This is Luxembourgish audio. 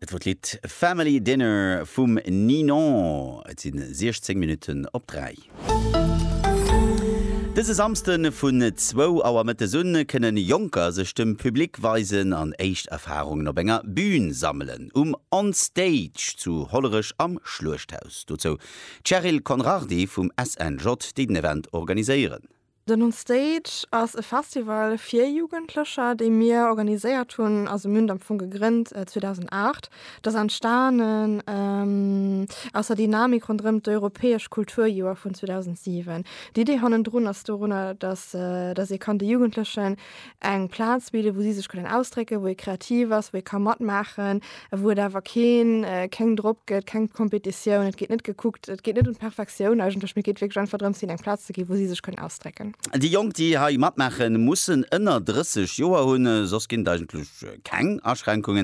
Et wor d'Lidd Family Dinner vum Ninon. Et sinn 16 Minutten op 3. Dëse Samsde vun zwou Auer mëttes un kënnen Jonker sech dem Public weisen an éischt Erfarungen op enger Bün sammelen um On Stage zu Hollerech am Schluechthaus. Dozou d'Cheryl Conrardy vum SNJ, déi den Event organiséieren. Den On Stage ass e Festival fir Jugendlecher, dee mir organiséiert hunn. Also mir hunn et am Fong gegrënnt 2008. Et ass entstanen aus der Dynamik ronderëm d'Europäesch Kulturjoer vun 2007. D'Idee hannendrun ass dorunner, datt datt ee kann de Jugendlechen eng Plaz bidden, wou si sech kënnen ausdrécken, wou ee kreativ ass, wou ee ka matmaachen, wou et awer keen, keng Drock gëtt, keng Kompetitioun, et geet net gekuckt, et geet net ëm d'Perfektioun eigentlech, mee et geet wierklech einfach drëms, hinnen eng Plaz ze ginn, wou si sech kënnen ausdrécken. Déi Jonk, déi hei matmaachen, mussen ënner 30 Joer hunn, soss ginn et eigentlech keng Aschränkungen.